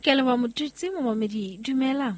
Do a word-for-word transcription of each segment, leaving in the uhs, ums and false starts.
Ke a leboha Motutsi momamedi, dumela.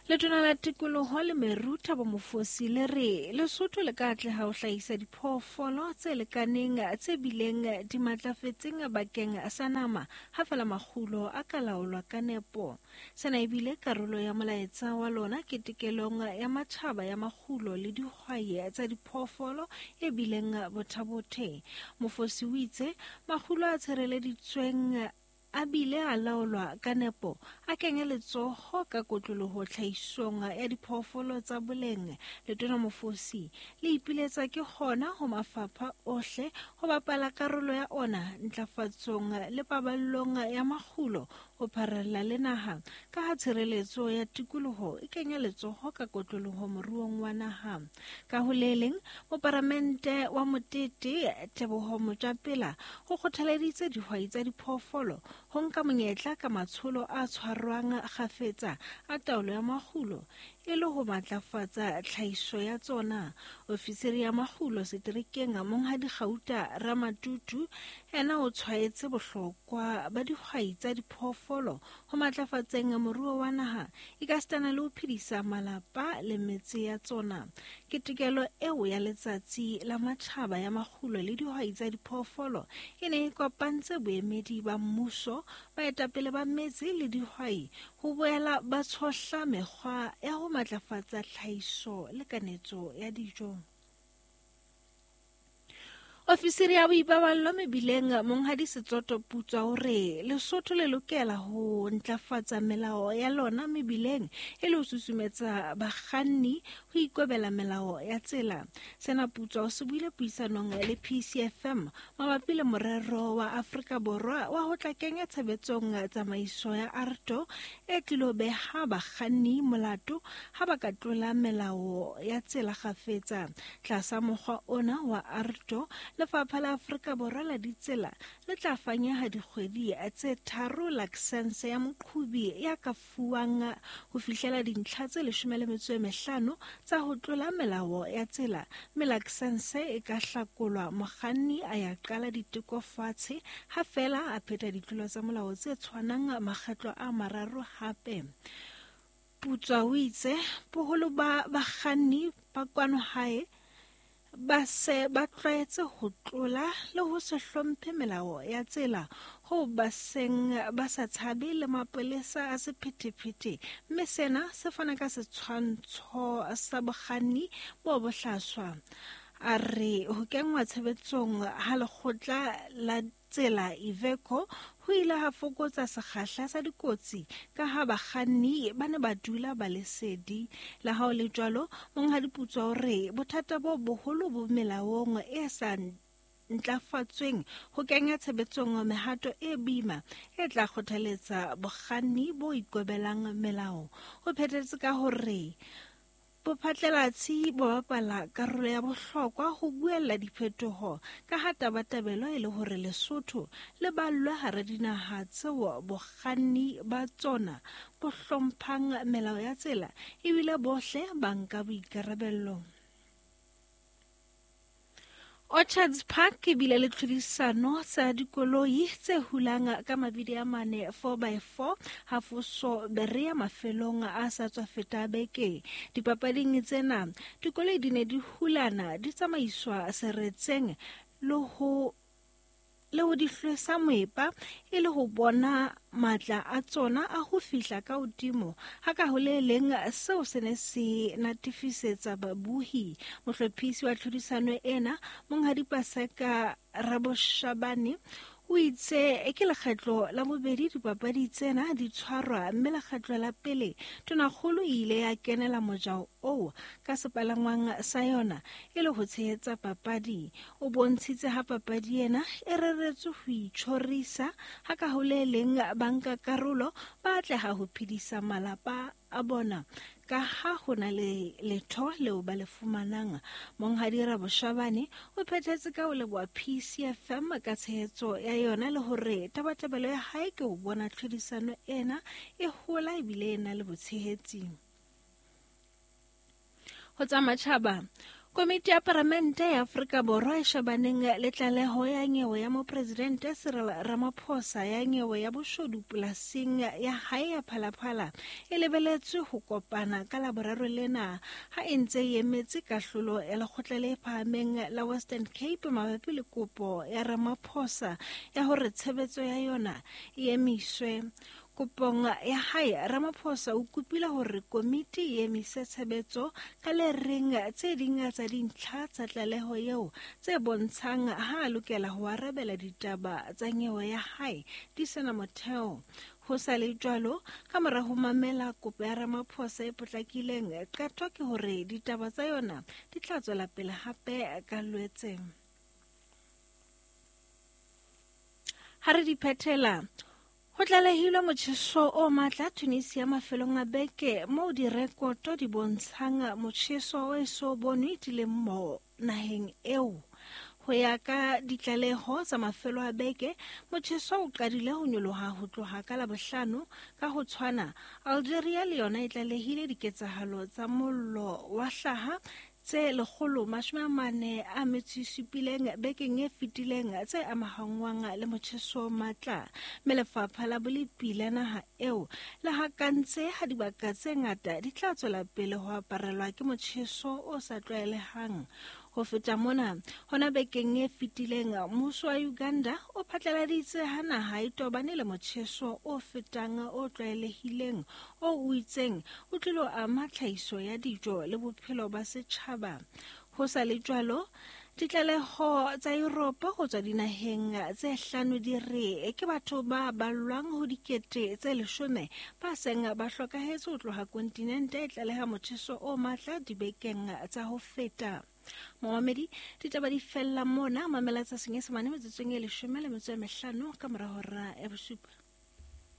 Letona la tikoloho le meru Thabo Mofosi le re Lesotho le ka atleha ho hlahisa diphoofolo tse lekaneng tse bileng di matlafetseng bakeng sa nama ha fela makgulo a ka laolwa ka nepo. Sena ebile karolo ya molaetsa wa lona ketekelong ya matjhaba ya makgulo le dihwai tsa diphoofolo e bileng bothabothe. Mofosi o itse makgulo a tshireleditsweng a bile a laolwa ka nepo a kenya letsoho ka kotloloho tlhahisong ya diphoofolo tsa boleng. Letona Mofosi le ipiletsa ke hona ho mafapha ohle ho bapala karolo ya ona ntlafatsong le paballong ya makgulo ho pharella le naha, ka ha tshireletso ya tikoloho e kenya letsoho ka kotloloho moruong wa naha. Ka ho le leng, moparamente wa Motete Teboho Motjapela ho kgothaleditse dihwai tsa diphoofolo ho nka monyetla ka matsholo a tshwarwang kgafetsa a taolo ya makgulo e le ho matlafatsa tlhahiso ya tsona. Ofisiri ya makgulo seterekeng Monghadi Gauta Ramatutu ena o tshwaetse bohlokwa ba dihwai tsa diphoofolo ho matlafatseng moruo wa naha ekasitana le ho phedisa malapa le metse ya tsona. Ketekelo eo ya letsatsi la matjhaba ya makgulo le dihwai tsa diphoofolo e ne e kopantse boemedi ba mmuso, baetapele ba metse le dihwai ho boela ba tshohla mekgwa ya ho matlafatsa tlhahiso le kanetso ya dijo. Ofisiri ya boipaballo mebileng Monghadi Setsoto Putswa o re Lesotho le lokela ho ntlafatsa melao ya lona mebileng e le ho susumetsa bakganni ho ikobela melao ya tsela. Sena Putswa o se buile puisanong le P C F M mabapi le morero wa Afrika Borwa wa ho tla kenya tshebetsong tsamaiso ya AARTO e tlilo beha bakganni molato ha ba ka tlola melao ya tsela kgafetsa. Tlasa mokgwa ona wa AARTO, Lefapha la Afrika Borwa la ditsela le tla fanyeha dikgwedi tse tharo lakesense ya moqhubi ya ka fuwang ho fihlela dintlha tse leshome le metso e mehlano tsa ho tlola melao ya tsela, mme lakesense e ka hlakolwa mokganni a ya qala diteko fatshe ha fela a pheta ditlolo tsa molao tse tshwanang makgetlo a mararo hape. Putswa o itse boholo ba bakganni ba kwano hae ba se ba tlwaetse ho tlola le ho se hlomphe melao ya tsela ho ba seng ba sa tshabe le mapolesa a sephethephethe, mme sena se fana ka setshwantsho sa bokganni bo bohlaswa. A re ho kenngwa tshebetsong ha lekgotla la tsela Iveco ho ile ha fokotsa sekgahla sa dikotsi ka ha bakganni ba ne ba dula ba le sedi. Le ha ho le jwalo, Monghadi Putswa o re bothata bo boholo bo melaong e sa ntlafatsweng ho kenya tshebetsong mehato e boima e tla kgothaletsa bokganni bo ikobelang melao. O phethetse ka hore bophatlalatsi bo bapala karolo ya bohlokwa ho buella diphetoho ka ha tabatabelo e le hore Lesotho le ballwe hara dinaha tseo bokganni ba tsona bo hlomphang melao ya tsela ebile bohle ba nka boikarabello. Orchards Park e bile le tlhodisano tsa dikoloi tse hulang ka mabidi a mane four by four hafoso Berea mafelong a sa tswa feta beke. Dipapading tsena dikoloi di ne di hulana di tsamaiswa seretseng le ho le ho di hlwesa moepa e le ho bona matla a tsona a ho fihla ka hodimo. Ha ka ho le leng seo se ne se natefisetsa babuhi. Mohlophisi wa tlhodisano ena Monghadi Paseka Raboshabane o itse ke lekgetlo la bobedi dipapadi tsena di tshwarwa, mme lekgetlo la pele tonakgolo e ile ya kenela mojao oo ka sepalangwang sa yona e le ho tshehetsa papadi. O bontshitse ha papadi ena e reretswe ho itjhorisa ha ka ho le leng banka karolo ba atleha ho phedisa malapa a bona ka ha ho na le letho leo ba le fumanang. Monghadi Raboshabane o phethetse ka ho leboha P C F M ka tshehetso ya yona le hore tabatabelo ya hae ke ho bona tlhodisano ena e hola ebile e na le botshehetsi. Ho tsa matjhaba, Komiti ya Palamente ya Afrika Borwa e shebaneng le tlaleho ya nyewe ya mopresidente Cyril Ramaphosa ya nyewe ya boshodu polasing ya hae ya Phalaphala e lebeletswe ho kopana ka Laboraro lena ha e ntse e emetse kahlolo ya lekgotla le phahameng la Western Cape mabapi le kopo ya Ramaphosa ya hore tshebetso ya yona e emiswe. Kopong ya hae, Ramaphosa o kopile hore komiti e emise tshebetso ka le reng tse ding tsa dintlha tsa tlaleho eo tse bontshang ha a lokela ho arabela ditaba tsa nyewe ya hae di sena motheo. Ho sa le jwalo, ka mora ho mamela kopo ya Ramaphosa e potlakileng, qeto ke hore ditaba tsa yona di tla tswela pele hape ka Lwetse. Ha re di phethela, ho tlalehilwe motjheso o matla Tunisia mafelong a beke moo direkoto di bontshang motjheso o eso bonwe dilemo naheng eo. Ho ya ka ditlaleho tsa mafelo a beke, motjheso o qadile ho nyoloha ho tloha ka Labohlano. Ka ho tshwana, Algeria le yona e tlalehile diketsahalo tsa mollo wa hlaha tse lekgolo mashome a mane a metso e supileng bekeng e fetileng tse amahangwang le motjheso o matla. Mme lefapha la bolepi la naha eo le hakantse ha dibaka tse ngata di tla tswela pele ho aparelwa ke motjheso o sa tlwaelehang. Ho feta mona, hona bekeng e fetileng, mmuso wa Uganda o phatlaladitse ha naha e tobane le motjheso o fetang o tlwaelehileng o o itseng o tlilo ama tlhahiso ya dijo le bophelo ba setjhaba. Ho sa le jwalo, ditlaleho tsa Europe ho tswa dinaheng tse hlano di re ke batho ba ballwang ho dikete tse leshome ba seng ba hlokahetse ho tloha kontinente e tlaleha motjheso o matla dibekeng tsa ho feta. Momamedi, ditaba di fella mona. Mamela tsa Senyesemane metsotsong e leshome le metso e mehlano ka mora hora ya bosupa.